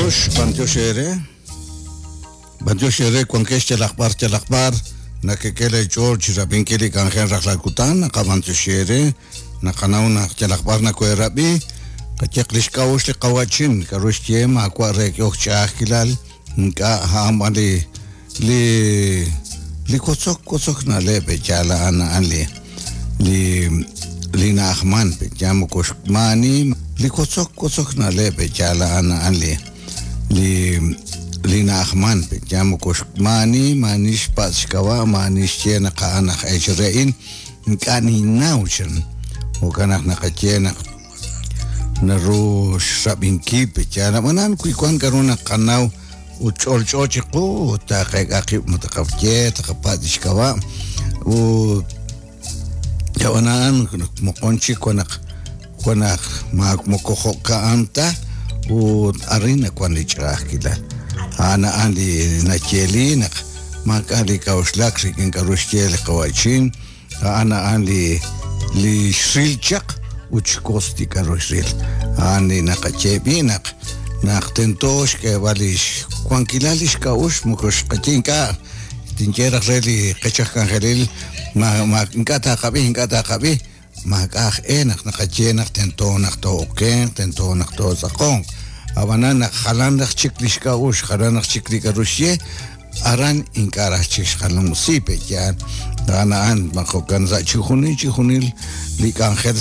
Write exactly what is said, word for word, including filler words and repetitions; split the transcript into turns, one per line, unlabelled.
B'antiox, b'antiox eere. B'antiox eere wankex yalaq b'ar yalaq b'ar nakek'e leech'ool chi rab'inkil li k'anjel rajlal kutan naqab'antioxi eere naqanaw naq yalaq b'ar nakoherab'i qayeq li xk'a'uxl li qawa'chin k'a'ru xye maawa' re k'ehok ch'a'ajkilal ink'a' a'an b'an li li li wotzok wotzok na'leb' yaal a'an a'an li li li na'ajman ya moko maani li wotzok wotzok na'leb' yaal a'an a'an li li li na'ajman ya moko maani maani xpatz' xk'ab'a' maani xye naq a'an aj eech re'in ink'a' ninnaw chan jo'kan naq naqaye naq naru xrab'inkil yaal ab'anan wi wan k'a'ru naqanaw ut ch'olch'o chiqu ut taqeek'a qib' ma taqaye taqapatz' lix k'ab'a' ut ab'anan moqon chik wan naq wan naq ma moko jo'ka'an ta ut arin nawan li ch'a'ajkilal a'an a'an li nayeeli naq maak'a' li k'a'uxlak rik'in k'a'ru xye li qawa'chin a'an a'an li li xril chaq ut xkos li k'a'ru xril a'an li naqaye b'i naq naq tento xk'eeb'al li xwankilal li xk'a'uxl moko xqaye ink'a' tinye raj re li qech aj k'anjelil ma ma ink'a' taqab'i ink'a' taqab'i maak'a' aj e naq naqaye naq tento naq too'okenq tento naq tootz'aqonq ab'anan naq jalan raj chik li xk'a'uxl jalan raj chik li k'a'ru xye aran ink'a' raj chik xqanumsi pe yaal a'an a'an ma jo'kan sa' chijunil chijunil li k'anjel.